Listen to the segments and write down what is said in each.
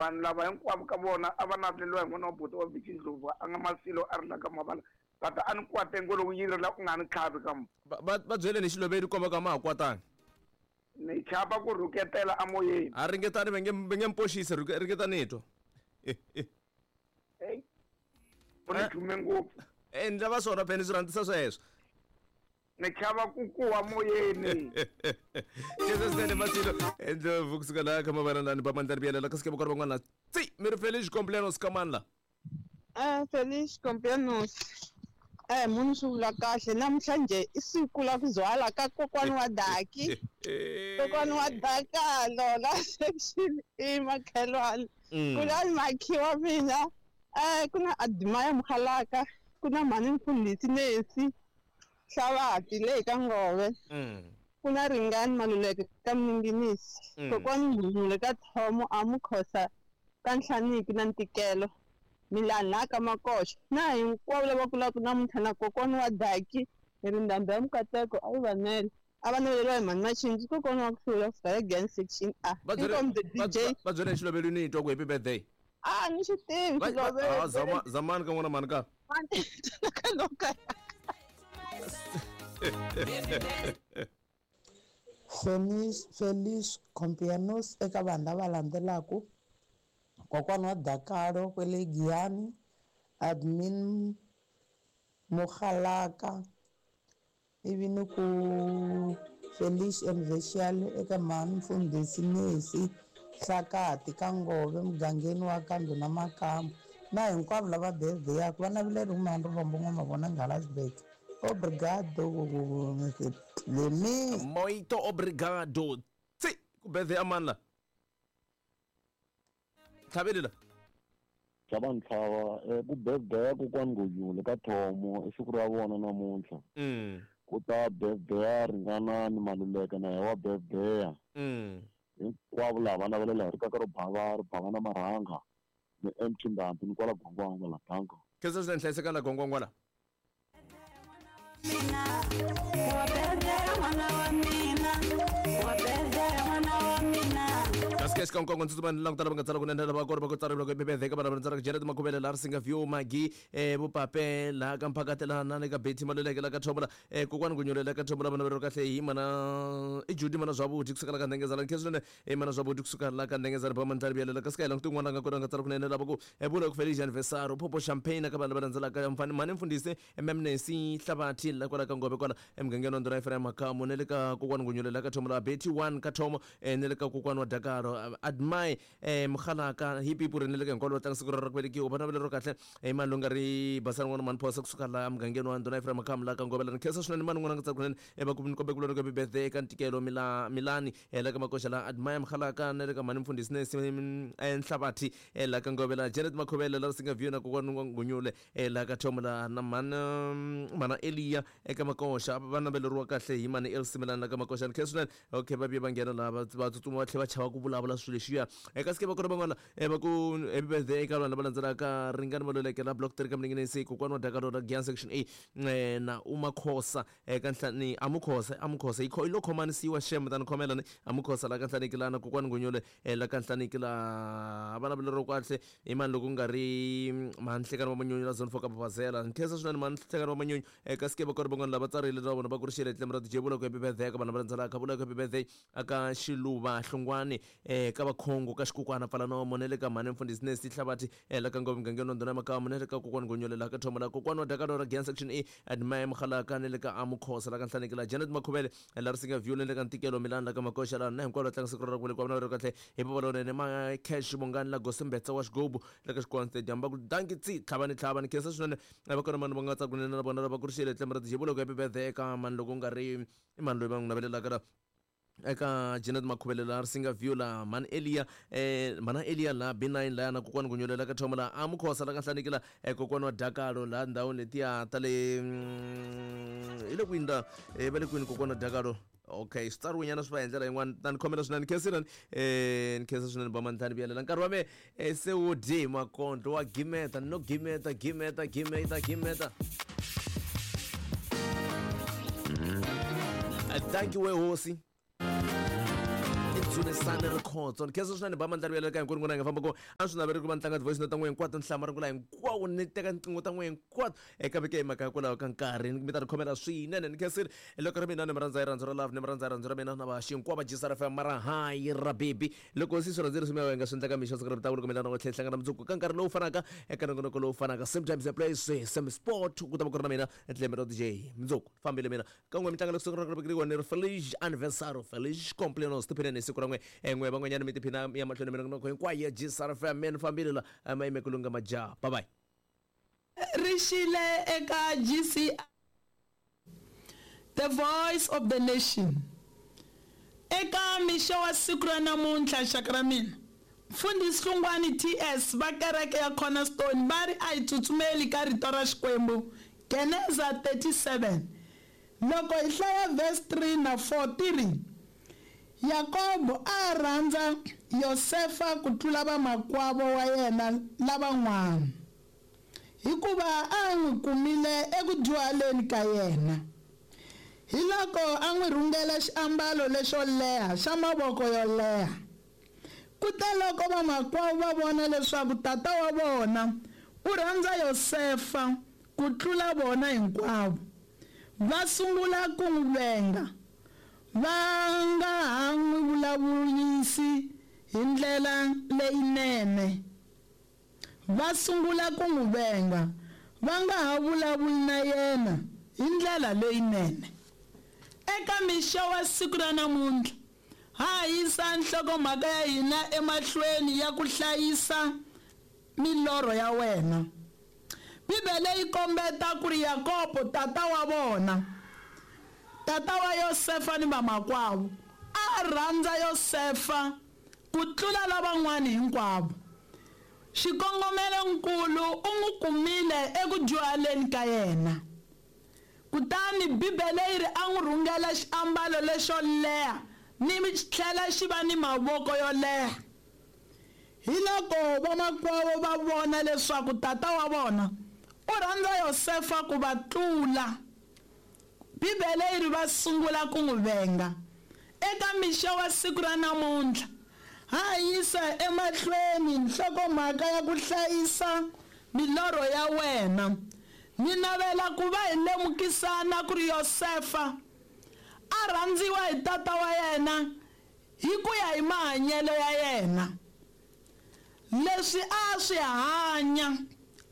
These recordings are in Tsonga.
Vanhu lava hinkwavo ka vona a va naveleriwa hi n'wana wa buti wa Vicky Ndlovu a nga Masilo a ri la ka Mavala but a ni kwate ngo loko yi rila u nga ni tlhavi ka Va va va byeleni hi Xilobedi komba ku a ma ha kwatanga. Ni chava ku rhuketela amoyeni. A ringetani va nge va nge mi poxisi ringetani hi twa. Hey. U ni dume ngopfu. Eh ni lava swona phela ni swi rhandzisa sweswo. Ni chava ku kuwa moyeni. Jesus nene Masilo Ndlovu kusuka laha ka mavana lani ba mandla ribiyelela kasi ke va van'wana tsi mi ri Feliz cumpleaños ka mani la. Feliz cumpleaños. Munhu swi vula kahle namuntlha njhe i siku la ku zwala ka kokwani wa Daki. Kokwani wa Dakalo la section E makhelwani. Kulani makhi wa mina. Ku na Admire Mukhalaka, ku na mhani Mfundhisi Nesi Hlavati le ka Ngove. Ku na Ringani Maluleke ka Mninginisi. Kokwani Nghunghunyule ka Thomo a Mukhosa ka Nhlaniki na Ntikelo. Milani laha ka Makoxa. Na hinkwavo lava kulaka namuntlha na kokwani wa Daki hi ri ndhambi ya Mukateko a yi va nele. A va naveleriwa hi mhani Machinji kokwani wa ku hlula kusuka le Giyani section A. Va byele Inkomu the va DJ. va byele hi Xilobedi ni twa ku happy birthday. A ni swi tivi Va va Xilobedi. ah zama zamani ka n'wana mhani ka. Ka Feliz, Feliz cumpleaños eka vanhu lava landzelaka kokwana wa Dakalo kwale Giyani admin Mokgalaka ivi ni ku Feliz anniversary eka mhani Mfundhisi Nesi Hlakati ka Ngove mugangeni wa ka Ndhuna Makamba na hinkwavo lava birthday-aka va naveleriwa mhani Rivombo N'wamavona Nghalasburg. Obrigado Mr. Dlamini. Muito obrigado. Tsi ku birthday ya mani la? Tlhaveli la. Tlhava ntlhava ku birthday ya kokwani Ngonyule ka Thomo i siku ra vona namuntlha. Ku ta birthday ya Ringanani Maluleke na yena wa birthday. Hinkwavo laha va navelela hi rikaka ro bava ri bava na marhanga ni MT Ndhambi ni kwala Gwangwangwa la danko. Khensa swinene hlayiseka la Gwangwangwa la. Kasi ke xikan'wekan'we ndzi tsutsuma ni languta lava nga tsala kunene lava kona va ku tsariwa loko bebevheka vana va tsala Jared Makhuvele laha Risinga View Magi Vupape laha ka Mphakati laha na le ka Betty Maluleke laha ka Thomola kokwani Gunyule laha ka Thomola vana va kahle hi mana i Judy mana Zwavhuthi kusuka la ka Ndengezana nkhensa swinene i mana Zwavhuthi kusuka la ka Ndengezana ba mandlali vuyelela kasi ka hi languti un'wana a nga kona a nga tsala kunene lava ku vula ku Feliz anniversario Popo Champagne ka vanhu lava landzelaka mfani mhani mfundhisi Mmnesi Hlabathi la kwala ka Ngove kwala emugangeni wa Ndhuna Ephraim Makamu na le ka kokwani Ngunyule la ka Thomo la Betty 1 ka Thomo na le ka kokwani wa Dakaro Admire Mukhalaka hi pipu ri na le ka hinkwavo va tlanga siku ra ra ku velekiwa va navelo ro kahle i mani loyi nga ri basani n'wana mhani Phosa kusuka la emugangeni wa Ndhuna Ephraim Makamu la ka Ngove la ni khensa swinene mani n'wana nga tsaka kunene va ku ni kombe ku lona birthday eka Ntikelo Milani la ka Makoxa la Admire Mukhalaka na le ka mhani Mfundhisi Nesi Nhlabathi la ka Ngove la Janet Makhuvele la Risinga View na kokwani Ngunyule la ka Thomo la na mhana mhana Eliya eka Makoxa va naveleriwa kahle hi mhani Elsie Milani la ka Makoxa ni khensa swinene okay va vuye va nghena laha va va tsutsuma va tlhela va chava ku vulavula swilo leswiya eka sike va kona van'wana va ku happy birthday eka vanhu lava landzelaka Ringani Maluleke la block 3 ka Mninginisi kokwana wa Dakalo la Giyani section A na Umakhosa eka Nhlani Amukhosa Amukhosa yi yi lo khomanisiwa shem ta ni khomela ni Amukhosa la ka Nhlaniki la na kokwani Ngunyule la ka Nhlaniki la va naveleriwa kahle i mani loko ku nga ri mhani Nhlekani wa Manyunyu la zone 4 ka Babazela ni khensa swinene mhani Nhlekani wa Manyunyu eka sike va kona van'wana lava tsarile na vona va ku ri xile tlemu ra DJ vula ku happy birthday eka vanhu lava landzelaka vula ku happy birthday aka Xiluva Hlungwani ka Vakhongo ka Xikukwana Pfalanomo na le ka mhani Mfundhisi Nesi Hlabathi la ka Ngove mugangeni wa Ndhuna ya Makamu na le ka kokwani Ngonyole la ka Thomo la kokwani wa Dakalo ra Giyani section E Admire Mukhalaka na le ka Amukhosa la ka Nhlaniki la Janet Makhuvele la Risinga View na le ka Ntikelo Milani la ka Makoxa la na hinkwavo va tlanga siku ra ku velekiwa vana va ri kahle hi papa lowunene ma cash Bongani la Gosimbetsa wa Xigubu la ka Xikwani Stadium va ku danki tsi tlhavani tlhavani khensa swinene va kona mani va nga tsaka kunene na vona lava ku ri xile tlemu ra DJ vula ku happy birthday eka mani loko nga ri i mani loyi va n'wi navelelaka la eka Janet Makhuvele la Risinga View la mhani Elia mhana Elia la B9 la na kokwani Gunyule la ka Thomo la Amukhosa la ka Nhlaniki la kokwani wa Dakalo la ndhawini letiya ta le hi le kwini ta va le kwini kokwani wa Dakalo okay swi tsariwe nyana swi va hi ndlela yin'wana ta ni khomela swinene khensile ni khensa swinene ba mantlhani vuyelela nkarhi wa me se wo dye hi makondlo wa gimeta no gimeta gimeta gimeta gimeta thank you we hosi. Dzunisani Rikhotso. Ni khensa swinene ba mandlari ya le ka hinkwenu n'wina hi nga famba ko a swi naveli ku va ni tlanga ti-voice note ta n'wina hinkwato ni hlaya marungula hinkwawo ni teka tinqingho ta n'wina hinkwato eka veke hi mhaka hikwalaho ka nkarhi mi ta ni khomela swinene. Ni khensile loko ri mina ni mi rhandza hi rhandzu ra love, ni mi rhandza hi rhandzu ra mina na vaxi hinkwavo va Gsr FM mara hayi ra baby. Loko se swi rhandzile swi mi nga swi endlaka mixo siku ra mitlangu loko mina na n'we tlhela hi hlangana mundzuku ka nkarhi lowu fanaka eka nongonoko lowu fanaka, same time, same place, same spot, ku ta va ku ri na mina Dlembe DJ. Mundzuku fambile mina ka n'we mitlangu loko siku ra ku ni ri feliz aniversario, feliz cumpleaños. Tiphineni hi siku ra n'we n'we van'wanyana mi tiphina ya mahlweni minongonoko hinkwayo ya Gsr FM. Mina fambile la ma yime ku lunga majaha. Bye bye. Ri xile eka GCR. The Voice of the Nation. Eka mixo wa siku ra namuntlha, xaka ra mina, Mfundhisi Hlungwani TS va kereke ya Cornerstone va ri a hi tsutsumeli ka rito ra Xikwembu, Geneza 37. Loko hi hlaya verse 3 na 4 ti ri, Yakobo a a rhandza Yosefa ku tlula vamakwavo wa yena lavan'wana, hikuva a a n'wi kumile eku dyuhaleni ka yena. Hiloko a n'wi rhungela xiambalo lexo leha xa mavoko yo leha. Kuteloko vamakwavo va vona leswaku tata wa vona u rhandza Yosefa ku tlula vona hinkwavo, va sungula ku n'wi venga, va nga ha n'wi vulavurisi hi ndlela leyinene. Va sungula ku n'wi venga, va nga ha vulavuli na yena hi ndlela leyinene. Eka mixo wa siku ra namuntlha, ha ha yisa nhlokomhaka ya hina emahlweni ya ku hlayisa milorho ya wena. Bibele yi kombeta ku ri Yakobo tata wa vona, tata wa Yosefa ni vamakwavo, a a rhandza Yosefa ku tlula lavan'wana hinkwavo. Xikongomelo-nkulu u n'wi kumile eku dyuhaleni ka yena. Kutani Bibele yi ri a n'wi rhungela xiambalo lexo leha ni tlhela xi va ni mavoko yo leha. Hiloko vamakwavo va vona leswaku tata wa vona u rhandza Yosefa ku va tlula. Bibele yi ri va sungula ku n'wi venga. Eka mixo wa siku ra namuntlha, ha ha yisa emahlweni nhlokomhaka ya ku hlayisa milorho ya wena. Ni navela ku va hi lemukisana ku ri Yosefa a rhandziwa hi tata wa yena hi ku ya hi mahanyelo ya yena. Leswi a a swi hanya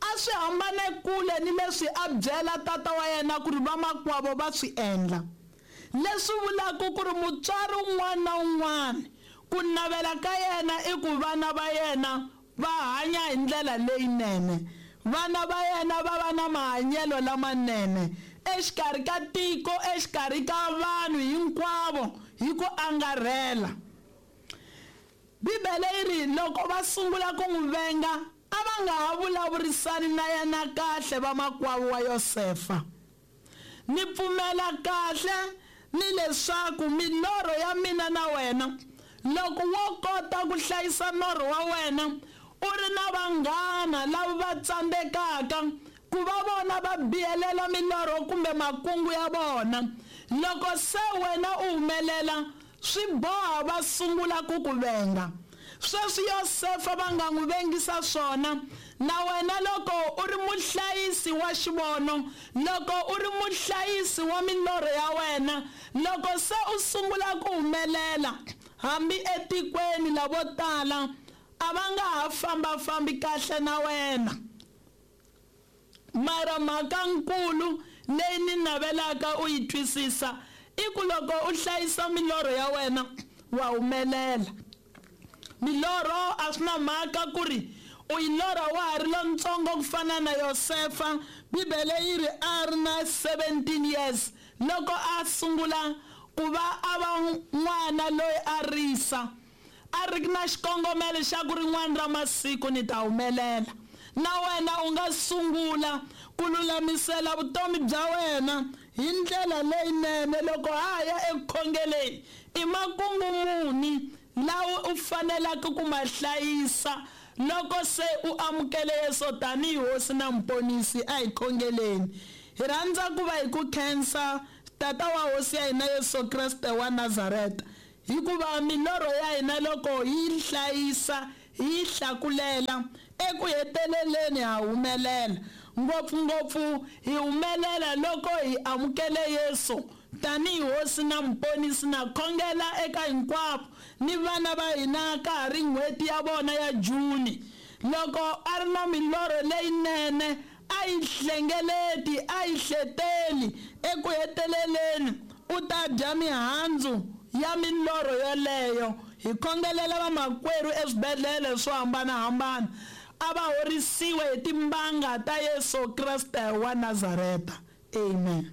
a swi hambane kule ni leswi a byela tata wa yena ku ri vamakwavo va swi endla. Leswi vulaka ku ri mutswari un'wana na un'wana ku navela ka yena i ku vana va yena va hanya hi ndlela leyinene, vana va yena va va na mahanyelo lamanene exikarhi ka tiko, exikarhi ka vanhu hinkwavo hi ku angarhela. Bibele yi ri, Loko va sungula ku n'wi venga, a va nga ha vulavurisani na yena kahle vamakwavo wa Yosefa. Ni pfumela kahle ni leswaku milorho ya mina na wena, loko wo kota ku hlayisa norho wa wena u ri na vanghana lava va tsandzekaka ku va vona va bihelela milorho kumbe makungu ya vona, loko se wena u humelela, swi boha va sungula ku ku venga. Sweswi Yosefa va nga n'wi vengisa swona, na wena loko u ri muhlayisi wa xivono, loko u ri muhlayisi wa milorho ya wena, loko se u sungula ku humelela, hambi etikweni lavo tala a va nga ha famba-fambi kahle na wena. Mara mhaka-nkulu leyi ni navelaka u yi twisisa i ku loko u hlayisa milorho ya wena, wa humelela. Milorho a swi na mhaka ku ri u yi lorha wa ha ri lontsongo ku fana na Yosefa, Bibele yi ri a ri na 17 years loko a sungula ku va a va n'wana loyi a risa. A ri na xikongomelo xa ku rin'wana ra masiku ni ta humelela. Na wena u nga sungula ku lulamisela vutomi bya wena hi ndlela leyinene loko ha ha ya eku khongeleni. I makungu muni lawa u fanelaka ku ma hlayisa loko se u amukele Yesu tanihi Hosi na Muponisi? A hi khongeleni. Hi rhandza ku va hi ku khensa, Tata wa Hosi ya hina Yesu Kreste wa Nazareta. Hikuva milorho ya hina loko hi yi hlayisa, hi yi hlakulela, eku heteleleni ha humelela. Ngopfu-ngopfu hi humelela loko hi amukele Yesu tanihi Hosi na Muponisi. Na khongela eka hinkwavo ni vana va hina ka ha ri n'hweti ya vona ya June. Loko a ri na milorho leyinene, a yi hlengeleti, a yi hleteli, eku heteleleni u ta dya mihandzu ya milorho yoleyo. Hi khongelela vamakwerhu eswibedlhele swo hambana-hambana, a va horisiwe hi timbanga ta Yesu Kreste wa Nazareta. Amen.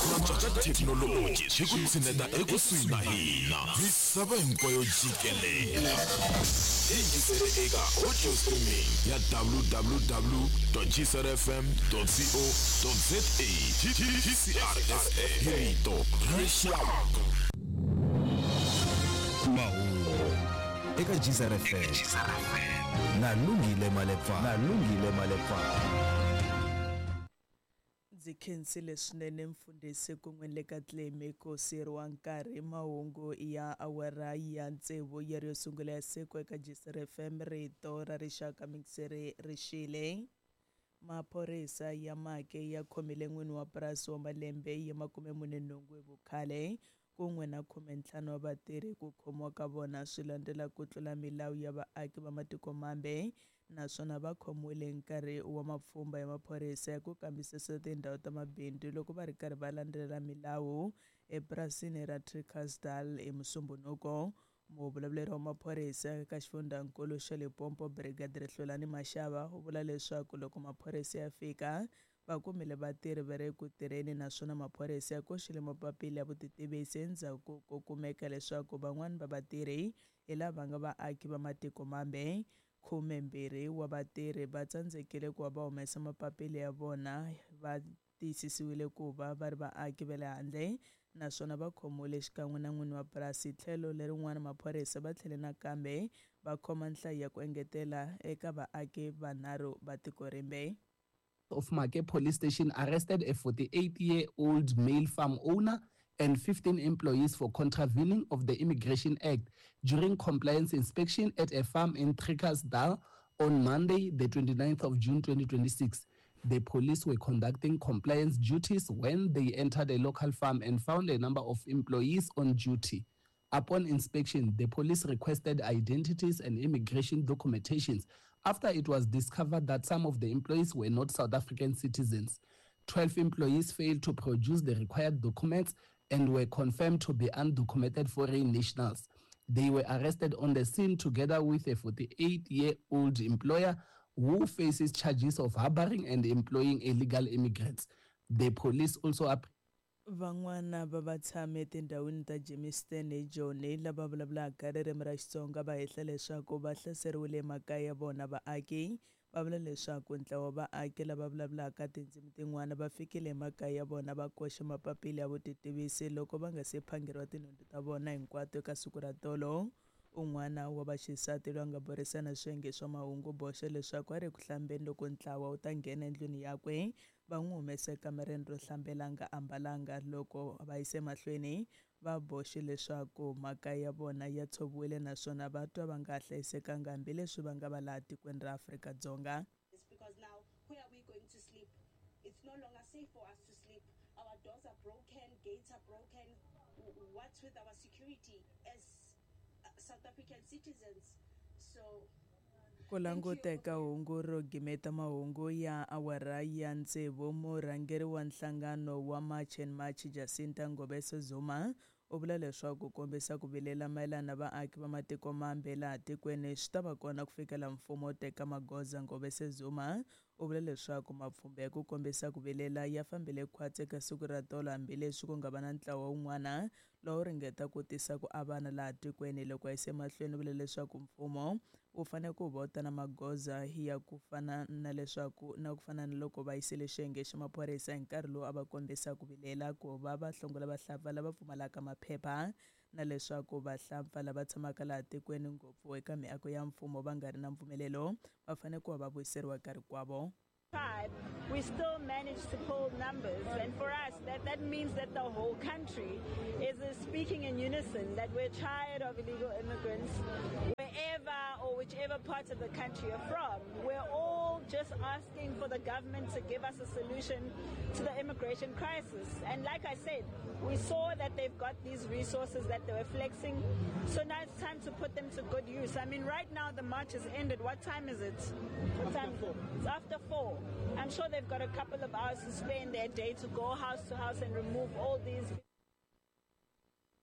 Ku antswa ka thekinoloji swi ku tshineta ekusuhi na hina misava hinkwayo jikelele. Hi yingisele eka audio streaming ya www.gcrfm.co.za GCRFM hi rito ra rixaka. Mahungu eka GCRFM na Lungile Malepfana. Na Lungile Malepfana. Ndzi khensile swinene mfundhisi kun'we ni le ka Clemy ku siyeriwa nkarhi. Mahungu ya awara ya tsevu ya ri yo sungula ya siku eka GCR FM rito ra rixaka mixere ri xile. Maphorisa ya Make ya khomile n'wini wa purasi wa malembe ya 48 hi vukhale kun'we na 15 wa vatirhi. Ku khomiwa ka vona swi landzela ku tlula milawu ya vaaki va matiko mambe naswona va khomiwile hi nkarhi wa mapfhumba ya maphorisa ya ku kambisisa tindhawu ta mabindzu loko va ri karhi va landzelela milawu epurasini ra Trichardtsdal hi Musumbhunuko. Muvulavuleri wa maphorisa eka xifundzankulu xa Limpopo Brigadier Hlulani Mashaba u vula leswaku loko maphorisa ya fika va kumile vatirhi va ri eku tirheni naswona maphorisa ya koxile mapapila ya vutitivisi endzhaku ko kumeka leswaku van'wana va vatirhi hi lava nga vaaki va matiko mambe. 12 wa vatirhi va tsandzekile ku va va humesa mapapila ya vona va tiyisisiwile ku va va ri vaaki va le handle naswona va khomiwile xikan'we na n'wini wa purasi. Tlhelo lerin'wana maphorisa va tlhele nakambe va khoma nhlayo ya ku engetela eka vaaki vanharhu va tiko rimbe. Of Make Police Station arrested a 48-year-old male farm owner and 15 employees for contravening of the Immigration Act during compliance inspection at a farm in Trichardtsdal on Monday, the 29th of June 2026. The police were conducting compliance duties when they entered a local farm and found a number of employees on duty. Upon inspection, the police requested identities and immigration documentations after it was discovered that some of the employees were not South African citizens. 12 employees failed to produce the required documents and were confirmed to be undocumented foreign nationals. They were arrested on the scene together with a 48-year-old employer who faces charges of harboring and employing illegal immigrants. The police also Van'wana va vatshami etindhawini ta Germiston eJoni lava vulavulaka ririmi ra Xitsonga va hehla leswaku va hlaseriwile emakaya ya vona. Vaaki va vula leswaku ntlawa wa vaaki lava vulavulaka tindzimi tin'wana va fikile emakaya ya vona va koxa mapapila ya vutitivisi loko va nga se phangeriwa tinhundzu ta vona hinkwato eka siku ra tolo. Un'wana wa vaxisati loyi a nga burisana swiyenge swa mahungu boxa leswaku a ri eku hlambeni loko ntlawa wu ta nghena endlwini yakwe va n'wi humesa ekamareni ro hlambela a nga ambalanga. Loko va yisa emahlweni va boxe leswaku makaya ya vona ya tshoviwile naswona va twa va nga ha hlayisekanga hambileswi va nga va laha tikweni ra Afrika-Dzonga. Because now, where are we going to sleep? It's no longer safe for us to sleep. Our doors are broken, gates are broken. What's with our security as South African citizens? So Ku languta eka hungu ro gimeta mahungu ya awara ya tsevu, murhangeri wa nhlangano wa March and March Jacinta Ngobese Zuma u vula leswaku ku kombisa ku vilela mayelana na vaaki va matiko mambe laha tikweni swi ta va kona ku fikela mfumo wu teka magoza. Ngobese Zuma u vula leswaku mapfhumba ya ku kombisa ku vilela ya fambile khwatsi eka siku ra tolo hambileswi ku nga va na ntlawa wun'wana lowu ringeta ku tisa ku avana laha tikweni. Loko a yisa emahlweni u vule leswaku mfumo wu fanele ku va wu ta na magoza ya ku fana na leswaku na ku fana na loko va yisile xiyenge xa maphorisa hi nkarhi lowu a va kombisa ku vilela ku va va hlongola vahlampfa lava pfumalaka maphepha na leswaku vahlampfa lava tshamaka laha tikweni ngopfu eka miako ya mfumo va nga ri na mpfumelelo va fanele ku va va vuyiseriwa ka rikwavo. Tribe, we still managed to pull numbers. And for us, that, that means that the whole country is speaking in unison that we're tired of illegal immigrants, wherever or whichever part of the country you're from. We're all just asking for the government to give us a solution to the immigration crisis. And like I said, we saw that they've got these resources that they were flexing. So now it's time to put them to good use. I mean, right now the march has ended. What time is it? What time? It's after four. I'm sure they've got a couple of hours to spend their day to go house to house and remove all these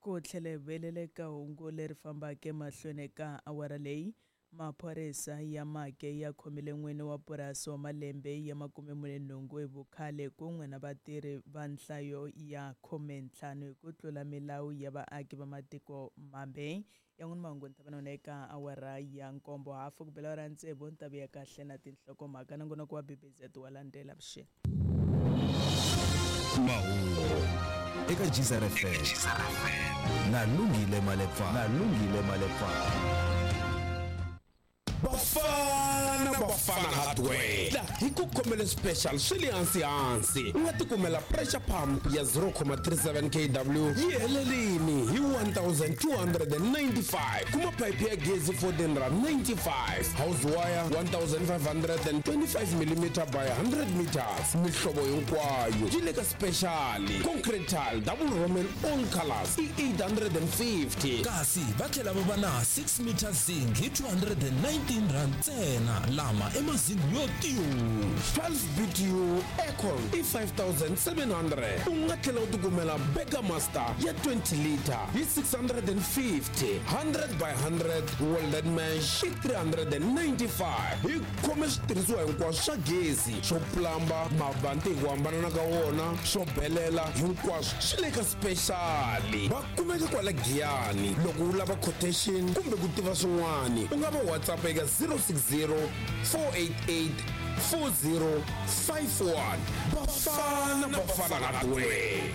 Ku tlhele velele ka hungu leri fambaka emahlweni ka awara leyi, maphorisa ya Make ya khomile n'wini wa purasi wa malembe ya 48 hi vukhale kun'we na vatirhi va nhlayo ya 15 hi ku tlula milawu ya vaaki va matiko mambe. Yan'wana mahungu ni ta va na wona eka awara ya nkombo hafu ku bela awara ya tsevu ni ta vuya kahle na tinhlokomhaka. Nongonoko wa BBZ wa landzela vuxeni. Mahungu eka Geyser FM na Lungile Malepa na Lungile Malepa. Bafana Bafana Hardware la hi ku khomele special swi le hansi hansi u nga tikumela pressure pump ya 0,37 kW yi helelini hi 1295 kuma pipe ya gezi 1495 house wire 1525 mm by 100 meters mihlovo hinkwayo yi le ka special concrete tile double roman all colors i 850 kasi va tlhela va va na 6 meter zinc hi 219 rand ntsena lama i mazingi yo tiyu 12 BTU aircon i 5700 u nga tlhela u tikumela Burger Master ya 20 liter hi 650 100 by 100 welded mesh i 395 hi khome switirhisiwa hinkwaswo swa gezi swo plamba mavanti hi ku hambanana ka wona swo belela hinkwaswo swi le ka special va kumeka kwala Giyani loko u lava quotation kumbe ku tiva swin'wana u nga va WhatsApp eka 060 488 4051 Bafana Bafana Hardware. Hey,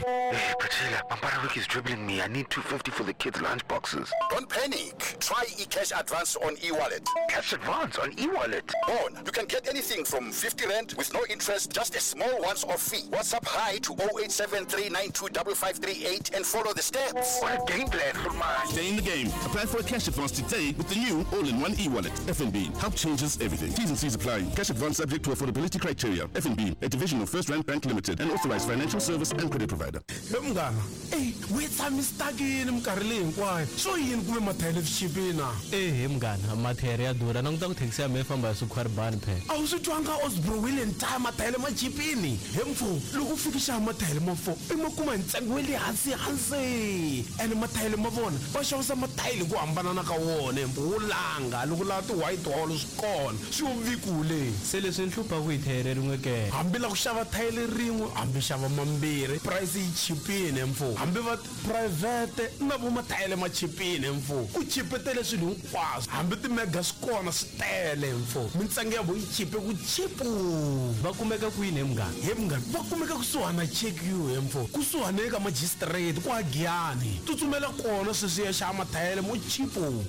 Priscilla, Pampara is dribbling me. I need 250 for the kids' lunch boxes. Don't panic. Try eCash Advance on eWallet. Cash Advance on eWallet? On. You can get anything from 50 Rand with no interest, just a small once-off fee. WhatsApp hi to 0873925538 and follow the steps. What a game plan for mine. Stay in the game. Apply for a cash advance today with the new all-in-one eWallet. FNB. Help changes everything. T's and C's apply. Cash advance subject to affordability criteria. FNB, a division of First Rand Bank Limited, an authorized financial service and credit provider. He munghana eyi we tshamistakini minkarhi leyi hinkwayo swo yini kuve mathayele swi chipini na ehe munghana mathayere ya durha languta ku thekisi ya mehe famba hi swikhwaribani phela a wu swi twanga osbro wheel and tire mathayele ma chipini he mfo loko u fika xava mathayele ma fo i ma kuma hi ntsengo wa le hansi hansi ene mathayele ma vona va xavisa mathayele hi ku hambanana ka wona mfo wo langa loko lava ti-white wall swi kona swi yo vikule se leswi ni hluphaku hi thayere rin'we ke hambi la ku xava thayele rin'we hambi xava mambirhi price yi chipini mfo hambi va private na vo mathayele ma chipini mfo ku chipetele swilo hinkwaswo hambi timega swi kona swi tele mfo mintsengo ya vo yi chipe ku chipu va kumeka kwini he munghana he munghana va kumeka kusuhana check you he mfo kusuhana eka magistrate kwa Giyani tsutsumela kona sweswi ya xava mathayele mo chipu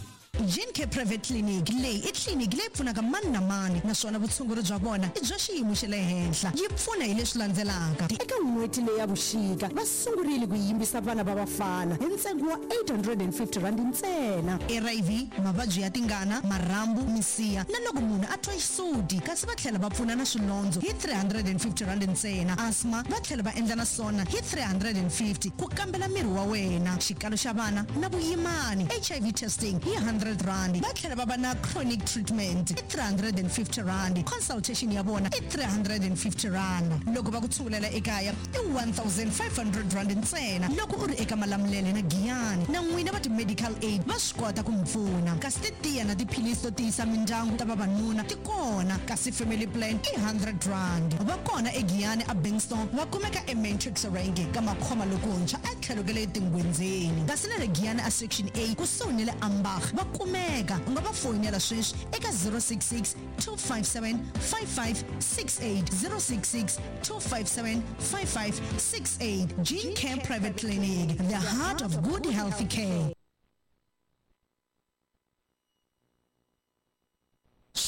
Gene Care Private Clinic leyi i tliliniki leyi pfunaka mani na mani naswona vutshunguri bya vona i bya xiyimo xa le henhla. Yi pfuna hi leswi landzelaka. Eka n'hweti leyi ya vuxika, va sungurile ku yimbisa vana va vafana hi ntsengo wa R850 ntsena. HIV, mavabyi ya tingana, marhambu, misiha na loko munhu a twa xisuti kasi va tlhela va pfuna na swilondzo hi R350 ntsena. Asthma va tlhela va endla na swona hi R350 ku kambela miri wa wena, xikalo xa vana na vuyimani, HIV testing hi R100. Va tlhela va va na chronic treatment i R350, consultation ya vona i R350. Loko va ku tshungulela ekaya i R1500 ntsena loko u ri eka Malamulele na Giyani. Na n'wina va ti-medical aid va swi kota ku mi pfuna. Kasi titiya na tiphilisi to tiyisa mindyangu ta vavanuna ti kona, kasi family plan i R100. Va kona eGiyani a Bingston, va kumeka eMatrix Range ka Makhoma lokuntshwa etlhelo ka le Tingwenzeni. Kasi na le Giyani a Section A kusuhi ni le Ambach va kumeka. U nga va foyinela sweswi eka 066 257 5568, 066 257 5568. Gene Care Private Clinic, the heart of good healthy care.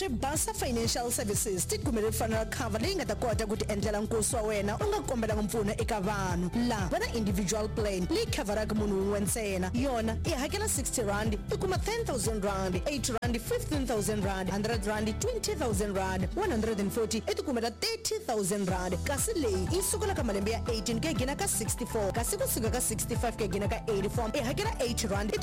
Swibasa Financial Services ti kumele funeral cover leyi nga ta kota ku ti endlela nkosi wa wena u nga kombelanga mpfuno eka vanhu. Laha va na individual plan leyi khavharaka munhu wun'we ntsena. Yona i hakela 60 rand i kuma 10000 rand, 80 rand 15000 rand, 100 rand 20000 rand, 140 i ti kumela 30000 rand. Kasi leyi yi sukela ka malembe ya 18 ku ya gina ka 64, kasi kusuka ka 65 ku ya gina ka 84 i hakela 80 rand i.